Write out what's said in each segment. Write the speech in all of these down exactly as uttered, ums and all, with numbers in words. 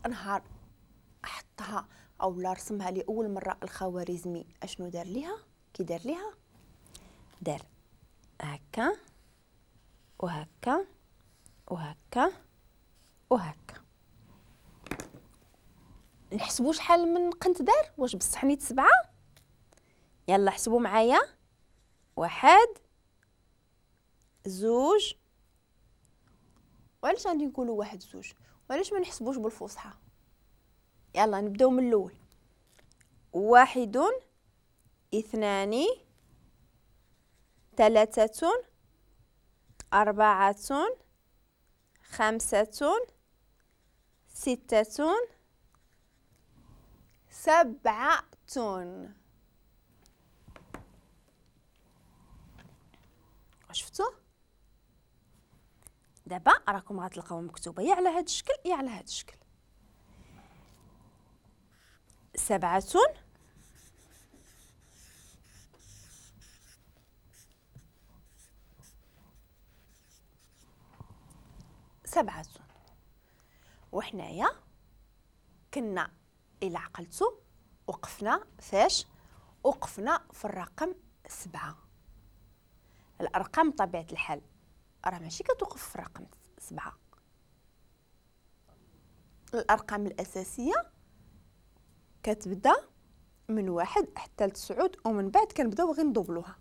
نهار حطها او لا رسمها لاول مرة الخوارزمي اشنو دار ليها؟ كي دار ليها؟ دار هكا وهكا وهكا وهكا. نحسبوا شحال من قنت دار؟ واش بصح نيت سبعة؟ يلا حسبوا معايا، واحد زوج. وعلاش غادي نقولوا واحد زوج؟ وعلاش ما نحسبوش بالفصحى؟ يلا نبداو من الاول. واحد اثنان ثلاثة أربعة خمسة ستة سبعة. شفتوا؟ دابا راكم غتلقاو مكتوبة يا على هذا الشكل يا على هذا الشكل. سبعة سبعة. وحنايا كنا إلى عقلتو وقفنا فاش؟ وقفنا في الرقم سبعة. الأرقام بطبيعة الحال راه ماشي كتوقف في الرقم سبعة. الأرقام الأساسية كتبدا من واحد حتى لتسعود، ومن بعد كنبداو غير ندوبلوها.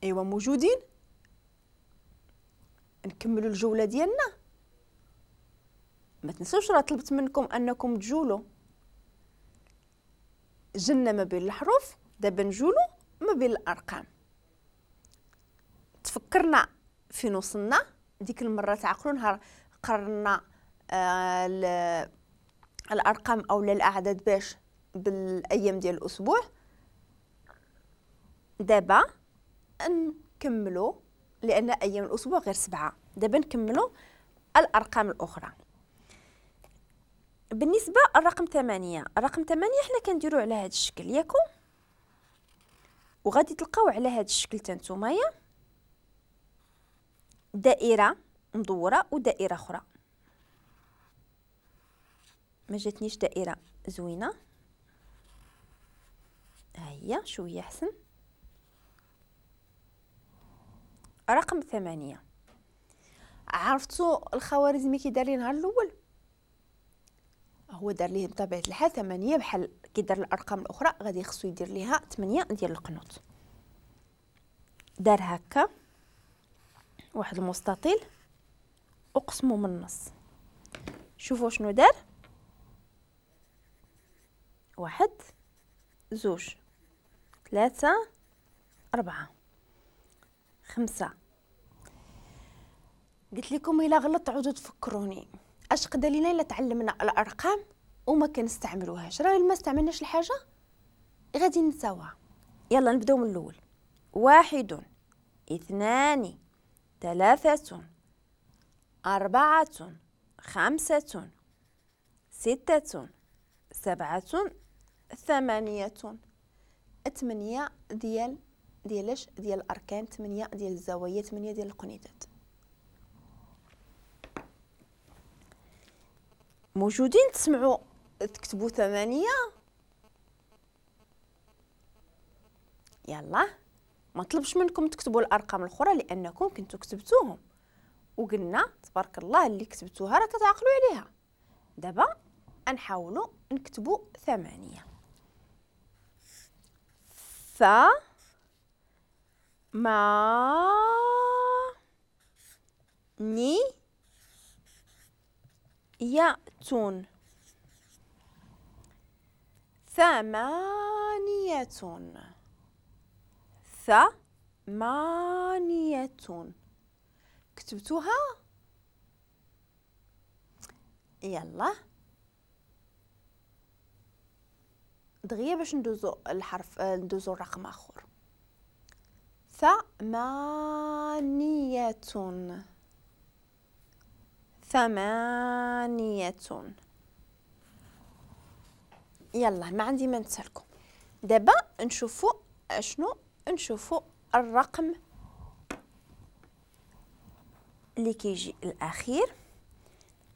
ايوا موجودين؟ نكملوا الجولة ديالنا. ما تنسوش راه طلبت منكم انكم تجولوا. جلنا ما بين الحروف، دابا نجولوا ما بين الارقام. تفكرنا فين وصلنا ديك المرة، تعقلوا نهار قررنا آه الارقام او الاعداد باش بالايام ديال الاسبوع. دابا نكملوا لان ايام الاسبوع غير سبعة. دابا نكملوا الارقام الاخرى. بالنسبة للرقم ثمانية، الرقم ثمانية حنا كنديروا على هذا الشكل ياكم، وغادي تلقاو على هذا الشكل حتى نتومايا دائرة مدورة ودائره اخرى. ما جاتنيش دائرة زوينة، ها هي شوية احسن. رقم ثمانية، عرفتوا الخوارزمي كي دار لي نهار الاول؟ هو دار ليه بطبيعة الحال ثمانية بحال كي دار الارقام الاخرى، غادي خصو يدير ليها ثمانية ديال القنوط. دار هكا واحد المستطيل وقسمو من النص. شوفوا شنو دار، واحد زوج ثلاثة أربعة خمسة. قلت لكم إلا غلطت عودوا تفكروني. اش قدا لينا الا تعلمنا الارقام وما كنستعملوهاش؟ راه ما استعملناش الحاجة غادي نساوها. يلا نبداو من الاول. واحد اثنان ثلاثة أربعة خمسة ستة سبعة ثمانية. ثمانية ديال ديال ديال الأركان، ثمانية ديال الزوايا، ثمانية ديال القنيتات. موجودين؟ تسمعوا تكتبوا ثمانية؟ يلا ما طلبش منكم تكتبوا الأرقام الأخرى لأنكم كنتوا كتبتوهم، وقلنا تبارك الله اللي كتبتوها راه كتعقلوا عليها. دابا نحاولوا نكتبوا ثمانية. ث ما ني ياتون. ثمانية. ثمانية. كتبتوها؟ يلا دغيا باش ندوزو الحرف، ندوزو الرقم اخر. ثمانية. ثمانية. يلا ما عندي ما نسالكم. دابا نشوفو اشنو، نشوفو الرقم اللي كيجي الاخير.